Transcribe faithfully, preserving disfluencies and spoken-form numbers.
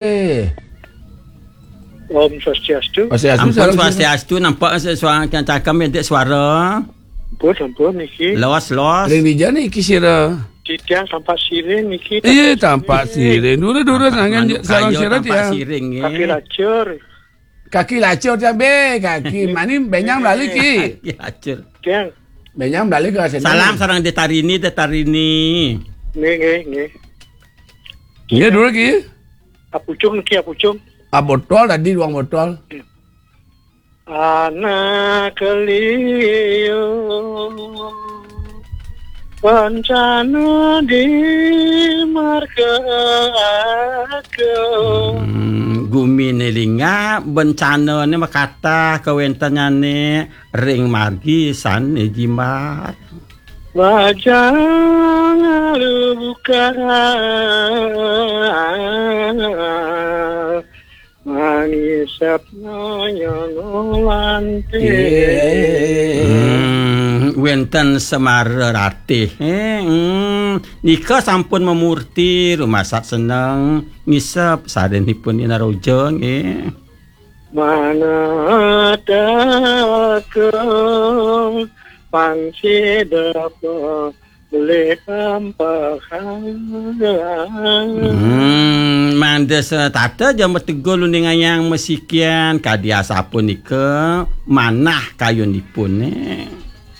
Eh. Om Swastiastu. Swastiastu, Ampun salam swastiastu, nampak se-, suara, cakam edek suara. Ampun, ampun, niki. Los, los. Ring dija niki sira? Titiang Tampak Siring niki, Iya, Tampak Tampak Siring. Siring. Dulu, dulu, Tampak nangan manuk sarang kayu, sira, Tampak Tiang. Siring, eh. Kaki lacur. Kaki lacur cabe, kaki mani benyang balik, Ki. Kaki lacur. Tiang. Benyang balik ke sini. Salam sarang Detarini, Detarini. Nggih, nggih, nggih. Iya, dulu, Ki. Apucung niki, apucung. Ah, botol tadi, duang botol. Anak liu bencana di marga aku. Hmm, gumine lingap, bencanane makatah kawentenane ring margi sane jimat. Bajang alu buka mangisap nanya ngolante. Hmm, wenten Semara Ratih. Eh, hmm, nika sampun memurti rumasat seneng ngisep sarenipun Ina Roja, nggih. Mana daku pang sida boleh ampahang. Hmm, mangda setata ja mategul uning ayang masikian, kadi asapunika manah kayunipune.